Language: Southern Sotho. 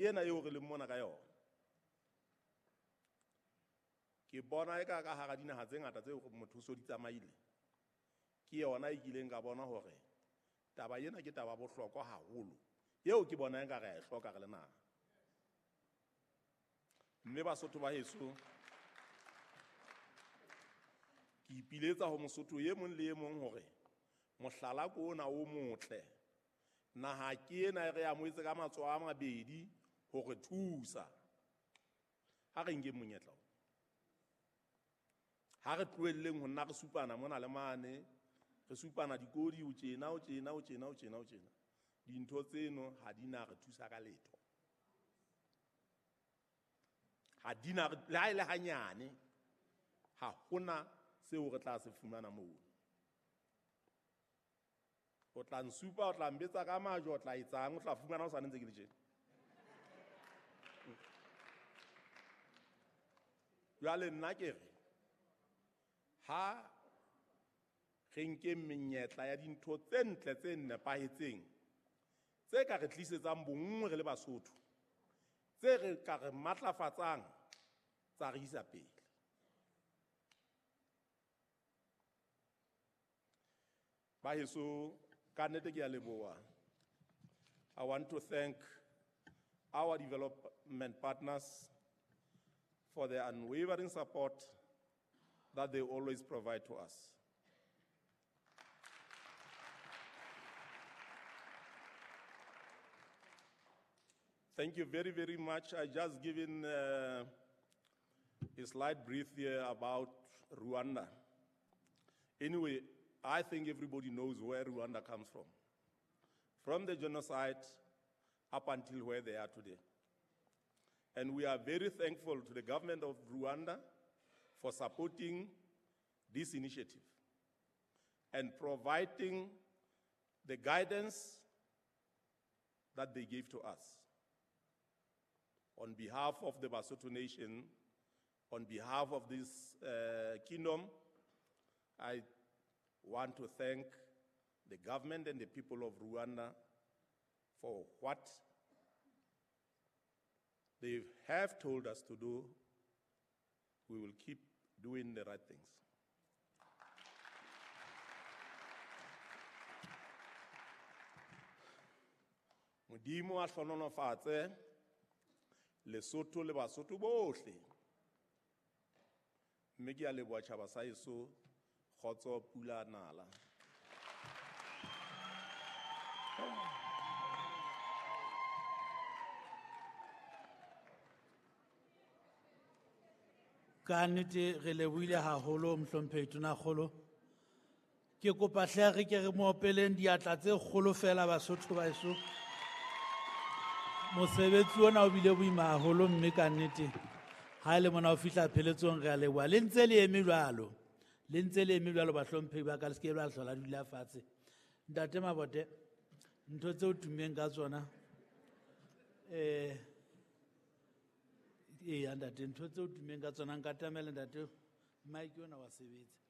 ena eo re leng mona ka yona. Ke bona e ka ka hara dinaha tse ngata tseo motho o so di tsamaile, ke yona e kileng ka bona hore taba ena ke taba bohlokwa haholo, eo ke bona nka re a e hloka re le naha. Mme Basotho ba heso, ke ipiletsa ho Mosotho e mong le e mong hore mohlala ke ona o motle, naha ke ena e re amohetse ka matsoho a mabedi hore thusa. Ha re nkeng monyetla o, ha re tlohelleng ho nna re supana mona le mane, re supana dikodi, o tjena, o tjena, o tjena, o tjena, o tjena. Dintho tseno ha di na re thusa ka letho. Ha di na re, le ha e le hanyane, ha hona seo re tla se fumana moo. O tla nsupa, o tla mbetsa ka majwe, o tla etsang, o tla fumana o sa ntse ke le tjena. Jwale nna ke re, ha re nke menyetla ya dintho tse ntle tse nepahetseng, tse ka re tlisetsang bonngwe re le Basotho, tse re ka re matlafatsang, tsa re isa pele. Ba heso, ka nnete ke a leboha. I want to thank our development partners for their unwavering support that they always provide to us. Thank you very, very much. I just given a slight brief here about Rwanda. Anyway, I think everybody knows where Rwanda comes from. From the genocide up until where they are today. And we are very thankful to the government of Rwanda for supporting this initiative and providing the guidance that they gave to us. On behalf of the Basotho nation, on behalf of this kingdom, I want to thank the government and the people of Rwanda for what they have told us to do. We will keep doing the right things. Modimo a hlohonolofatse Lesotho le Basotho bohle. Mme ke a leboha tjhaba sa heso, kgotso pula nala. Ka nnete re lebohile haholo mohlomphehi Tonakgolo. Ke kopa hle re ke re mo opeleng diatla tse kgolo fela Basotho ba heso. Mosebetsi ona o bile boima haholo mme ka nnete ha e le mona o fihla pheletsong re a leboha. Le ntse le eme jwalo. Le ntse le eme jwalo bahlomphehi ba ka, le se ke la hlola dula fatshe. Ntate Mabote, ntho tseo tummeng ka tsona, eya ntate, ntho tseo tummeng ka tsona, nka tlamela ntate, mike ona wa sebetsa.